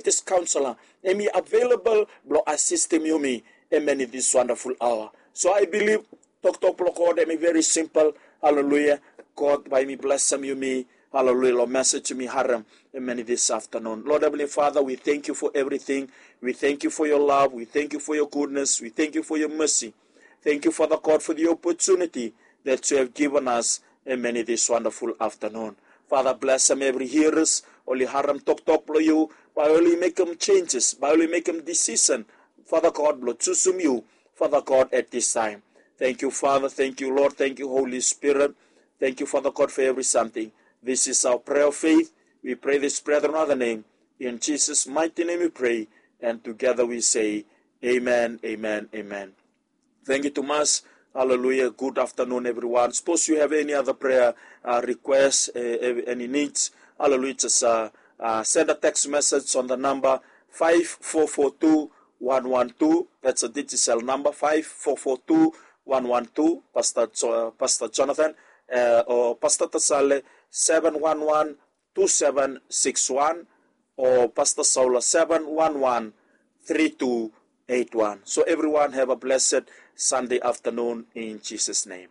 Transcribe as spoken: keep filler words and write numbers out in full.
Baptist Council, hemi available blong asistim yumi, amen, in this wonderful hour. So I believe toktok blong God hemi very simple. Haleluya. God bae hemi blesem yumi, haleluya, long message yumi harem, amen, in this afternoon. Lord Heavenly Father, we thank you for everything. We thank you for your love. We thank you for your goodness. We thank you for your mercy. Thank you, Father God, for the opportunity that you have given us, amen, in this wonderful afternoon. Father, blesem evri hearers, oli harem toktok blong yu, bae oli mekem changes, bae oli mekem decision, Father God, blong jusum yu, Father God, at this time. Thank you, Father. Thank you, Lord. Thank you, Holy Spirit. Thank you, Father God, for every something. This is our prayer of faith. We pray this prayer in another name. In Jesus' mighty name we pray, and together we say, amen, amen, amen. Thank you tumas. Haleluya. Good afternoon, everyone. Suppose you have any other prayer, uh, request, uh, any needs, haleluya, just, uh, uh, send a text message on the number five four four two one one two. That's a digital number, five four four two one one two. Pastor Jo- Pastor Jonathan, uh, or Pastor Tasale, seven one one two seven six one, or Pastor Saula, seven one one three two eight one. So everyone have a blessed Sunday afternoon in Jesus' name.